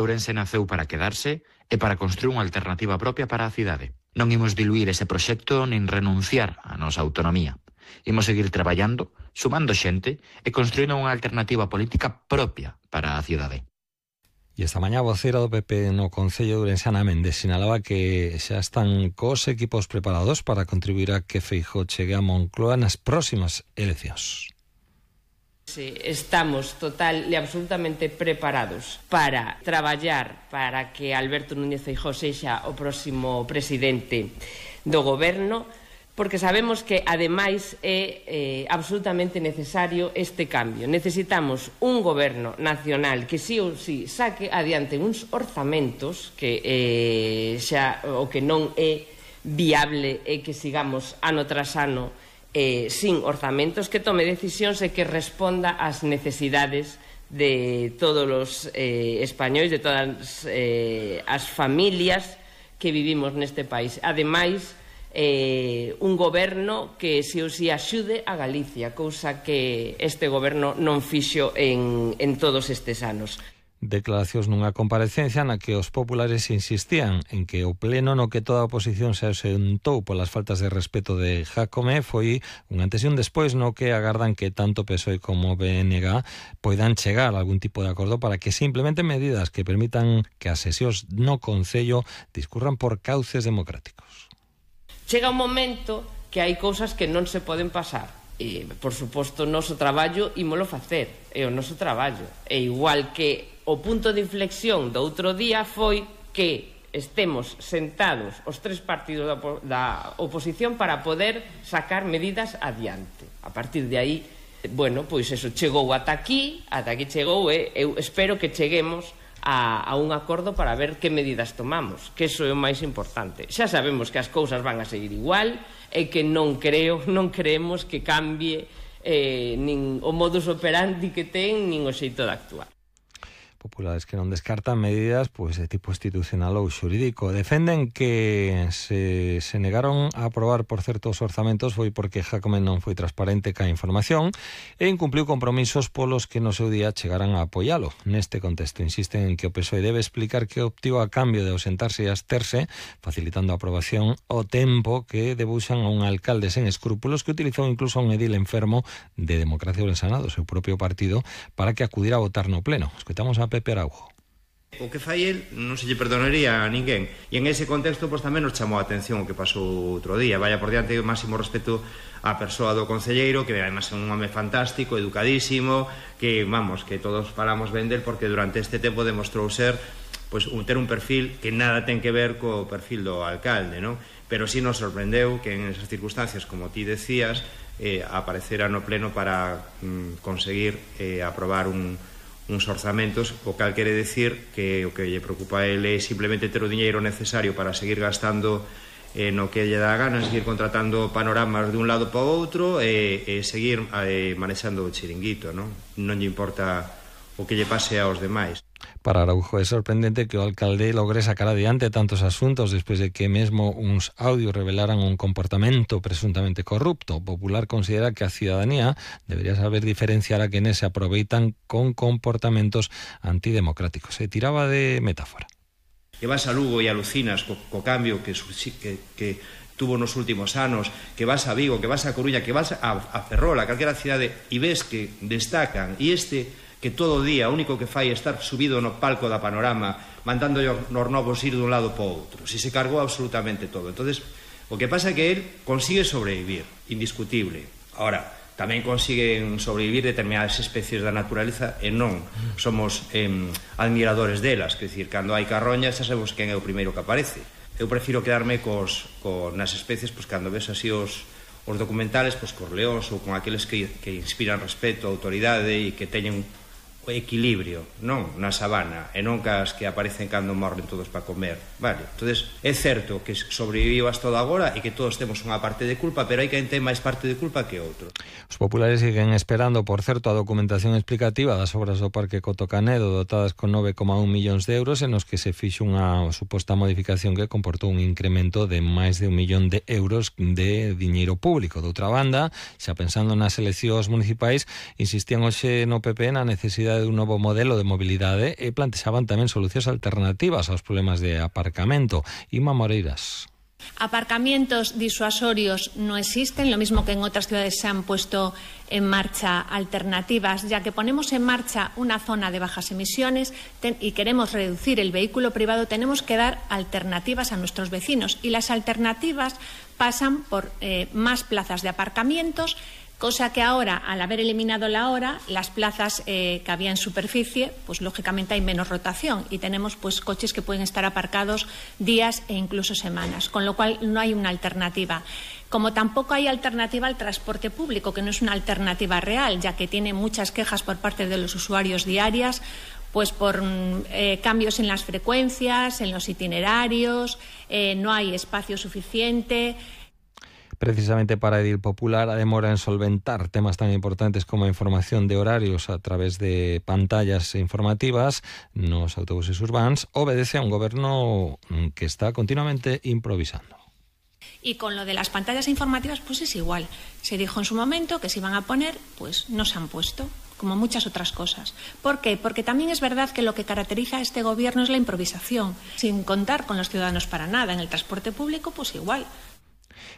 Ourense naceu para quedarse e para construir unha alternativa propia para a cidade. Non imos diluir ese proxecto nin renunciar á nosa autonomía. Imos seguir traballando, sumando xente e construindo unha alternativa política propia para a cidade. E esta mañá a vocera do PP no Concello de Ourense, Ana Méndez, sinalaba que xa están cos equipos preparados para contribuir a que Feijóo chegue a Moncloa nas próximas eleccións. Sí, estamos total e absolutamente preparados para traballar para que Alberto Núñez Feijóo sexa o próximo presidente do goberno, porque sabemos que, ademais, é absolutamente necesario este cambio. Necesitamos un goberno nacional que sí ou sí saque adiante uns orzamentos que xa o que non é viable é que sigamos ano tras ano sin orzamentos, que tome decisións e que responda ás necesidades de todos os españois, de todas as familias que vivimos neste país. Ademais, un goberno que si ou si axude a Galicia, cousa que este goberno non fixo en todos estes anos. Declaracións nunha comparecencia na que os populares insistían en que o pleno no que toda a oposición se ausentou polas faltas de respeto de Jácome foi un antes e un despois no que agardan que tanto PSOE como BNG poidan chegar a algún tipo de acordo para que se implementen medidas que permitan que as sesións no Concello discurran por cauces democráticos. Chega un momento que hai cousas que non se poden pasar. E, por suposto, o noso traballo ímolo facer, é o noso traballo. E igual que o punto de inflexión do outro día foi que estemos sentados os tres partidos da oposición para poder sacar medidas adiante. A partir de aí, bueno, pois eso chegou ata aquí chegou, e eu espero que cheguemos a un acordo para ver que medidas tomamos, que eso é o máis importante. Xa sabemos que as cousas van a seguir igual e que non creemos que cambie nin o modus operandi que ten, nin o xeito de actuar. Populares que non descartan medidas de tipo institucional ou xurídico. Defenden que se negaron a aprobar, por certo, os orzamentos foi porque Jácome non foi transparente ca información e incumpliu compromisos polos que no seu día chegaran a apoialo. Neste contexto insisten en que o PSOE debe explicar que obtivo a cambio de ausentarse e absterse, facilitando a aprobación o tempo que debuxan a un alcalde sen escrúpulos que utilizou incluso a un edil enfermo de Democracia Ourensana do seu propio partido para que acudira a votar no pleno. Escoitamos a Pepe Araujo. O que fai el non se lle perdonaría a ninguén. E en ese contexto tamén nos chamou a atención o que pasou outro día. Vaya por diante o máximo respeto á persoa do concelleiro, que además é un home fantástico, educadísimo, que todos falamos ben del porque durante este tempo demostrou ser ter un perfil que nada ten que ver co perfil do alcalde, non? Pero sí nos sorprendeu que en esas circunstancias, como ti decías, aparecera no pleno para conseguir aprobar uns orzamentos, o cal quere decir que o que lle preocupa a ele é simplemente ter o diñeiro necesario para seguir gastando no que lle dá a gana, seguir contratando panoramas de un lado para o outro e seguir manexando o chiringuito, non lle importa o que lle pase aos demais. Para Araujo é sorprendente que o alcalde logre sacar adiante tantos asuntos despois de que mesmo uns audios revelaran un comportamento presuntamente corrupto. O Popular considera que a cidadanía debería saber diferenciar a quenes se aproveitan con comportamentos antidemocráticos. Se tiraba de metáfora. Que vas a Lugo e alucinas co cambio que tuvo nos últimos anos, que vas a Vigo, que vas a Coruña, que vas a Ferrol, a calquera cidade, e ves que destacan, e que todo o día o único que fai é estar subido no palco da Panorama mandando os novos ir dun lado para o outro. Si se cargou absolutamente todo. Entonces, o que pasa é que él consigue sobrevivir, indiscutible. Ahora, tamén consiguen sobrevivir determinadas especies da naturaleza e non somos admiradores delas. Quer dicir, cando hai carroñas xa sabemos quen é o primeiro que aparece. Eu prefiro quedarme nas especies cando ves así os documentales cos leóns ou con aqueles que inspiran respeto, autoridade e que teñen equilibrio, non na sabana, e non cas que aparecen cando morren todos para comer. Vale, entonces é certo que sobreviviu hasta agora e que todos temos unha parte de culpa, pero hai quen ten máis parte de culpa que outro. Os populares siguen esperando, por certo, a documentación explicativa das obras do Parque Coto Canedo dotadas con 9,1 millóns de euros en os que se fixo unha suposta modificación que comportou un incremento de máis de 1 millón de euros de diñeiro público. De outra banda, xa pensando nas eleccións municipais, insistían hoxe no PP na necesidade necesidade dun novo modelo de mobilidade e plantexaban tamén solucións alternativas aos problemas de aparcamento. Inma Moreiras. Aparcamientos disuasorios no existen, lo mismo que en otras ciudades se han puesto en marcha alternativas, ya que ponemos en marcha una zona de bajas emisiones y queremos reducir el vehículo privado, tenemos que dar alternativas a nuestros vecinos, y las alternativas pasan por más plazas de aparcamientos, cosa que ahora, al haber eliminado la hora, las plazas que había en superficie, pues lógicamente hay menos rotación y tenemos pues coches que pueden estar aparcados días e incluso semanas, con lo cual no hay una alternativa. Como tampoco hay alternativa al transporte público, que no es una alternativa real, ya que tiene muchas quejas por parte de los usuarios diarias, pues por cambios en las frecuencias, en los itinerarios, no hay espacio suficiente. Precisamente para Edil Popular, a demora en solventar temas tan importantes como a información de horarios a través de pantallas informativas nos autobuses urbans obedece a un goberno que está continuamente improvisando. Y con lo de las pantallas informativas, pues es igual. Se dijo en su momento que se iban a poner, pues no se han puesto, como muchas otras cosas. ¿Por qué? Porque también es verdad que lo que caracteriza a este gobierno es la improvisación, sin contar con los ciudadanos para nada. En el transporte público, pues igual.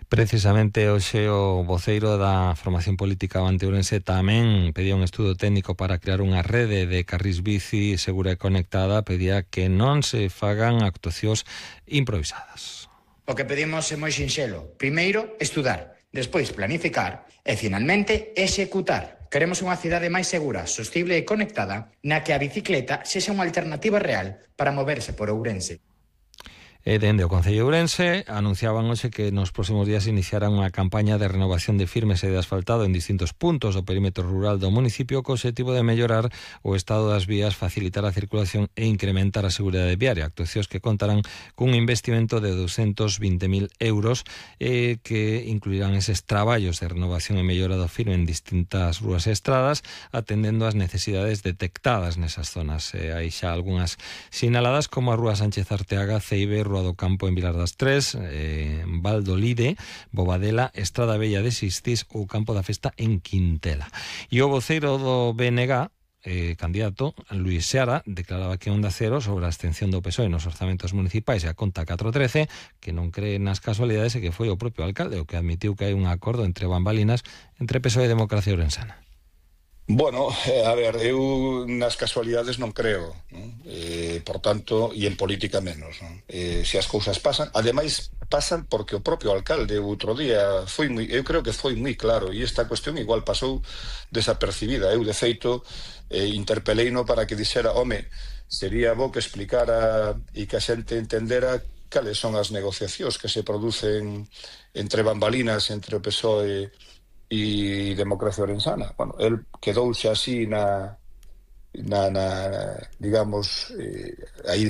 Precisamente hoxe o voceiro da formación política Avante Ourense tamén pedía un estudo técnico para crear unha rede de carrís bici segura e conectada, pedía que non se fagan actuacións improvisadas. O que pedimos é moi sinxelo. Primeiro, estudar, despois planificar e, finalmente, executar. Queremos unha cidade máis segura, sostible e conectada na que a bicicleta sexa unha alternativa real para moverse por Ourense. E dende o Concello de Ourense anunciaban hoxe que nos próximos días iniciarán unha campaña de renovación de firmes e de asfaltado en distintos puntos do perímetro rural do municipio co obxectivo de mellorar o estado das vías, facilitar a circulación e incrementar a seguridade viaria. Actuacións que contarán cun investimento de 220.000 euros que incluirán eses traballos de renovación e mellora do firme en distintas rúas e estradas, atendendo ás necesidades detectadas nesas zonas. Hai xa algunhas sinaladas como a Rúa Sánchez Arteaga, Ceibe, Rúa do Campo en Vilar das Tres, Valdolide, Bobadela, Estrada Bella de Sistis ou Campo da Festa en Quintela. E o voceiro do BNG, candidato Luís Seara, declaraba que Onda Cero sobre a abstención do PSOE nos orzamentos municipais e a conta 413, que non cree nas casualidades e que foi o propio alcalde o que admitiu que hai un acordo entre bambalinas entre PSOE e Democracia Ourensana. Bueno, a ver, eu nas casualidades non creo, non? Por tanto, e en política menos, non? Se as cousas pasan, ademais pasan porque o propio alcalde outro día eu creo que foi moi claro, e esta cuestión igual pasou desapercibida. Eu, de feito, interpeleino para que dixera, home, sería bo que explicara e que a xente entendera cales son as negociacións que se producen entre bambalinas, entre o PSOE e Democracia Ourensana. Bueno, el quedouse así digamos, aí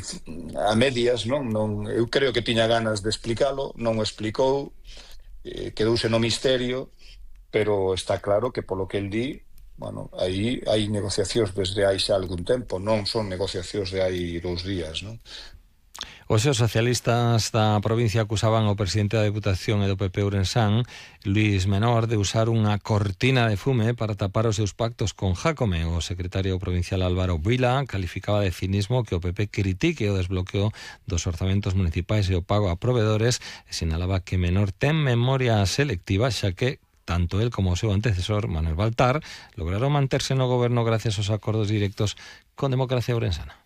a medias, non? Eu creo que tiña ganas de explicalo, non o explicou, quedouse no misterio, pero está claro que polo que el di, bueno, aí hai negociacións desde hai xa algún tempo, non son negociacións de hai 2 días, non? Os socialistas da provincia acusaban ao presidente da Deputación e do PP Ourensán, Luís Menor, de usar unha cortina de fume para tapar os seus pactos con Jácome. O secretario provincial Álvaro Vila calificaba de cinismo que o PP critique o desbloqueo dos orzamentos municipais e o pago a provedores e sinalaba que Menor ten memoria selectiva, xa que tanto el como o seu antecesor, Manuel Baltar, lograron manterse no goberno gracias aos acordos directos con Democracia Ourensana.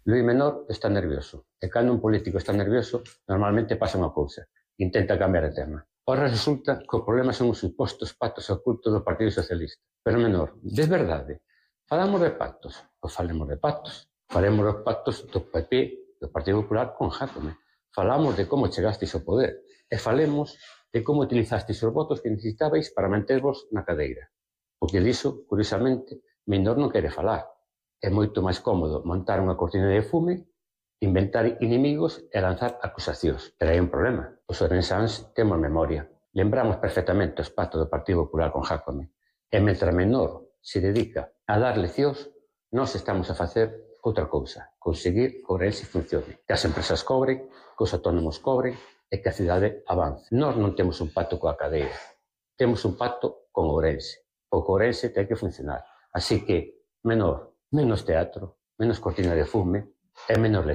Luís Menor está nervioso. E cando un político está nervioso, normalmente pasa unha cousa. Intenta cambiar de tema. Ora resulta que o problema son os supostos pactos ocultos do Partido Socialista. Pero Menor, de verdade, falamos de pactos? Pois falemos de pactos. Falemos dos pactos do PP, do Partido Popular, con Jácome. Falamos de como chegastes ao poder. E falemos de como utilizastes os votos que necesitabais para mantervos na cadeira. Porque diso, curiosamente, Menor non quere falar. É moito máis cómodo montar unha cortina de fume, inventar inimigos e lanzar acusacións. Pero hai un problema. Os ourensáns temos memoria. Lembramos perfectamente os pactos do Partido Popular con Jácome. E mentre Menor se dedica a dar leccións, nós estamos a facer outra cousa. Conseguir que Ourense funcione. Que as empresas cobren, que os autónomos cobren e que a cidade avance. Nós non temos un pacto coa cadeira. Temos un pacto con Ourense. O que Ourense ten que funcionar. Así que, Menor, menos teatro, menos cortina de fume e menos lección.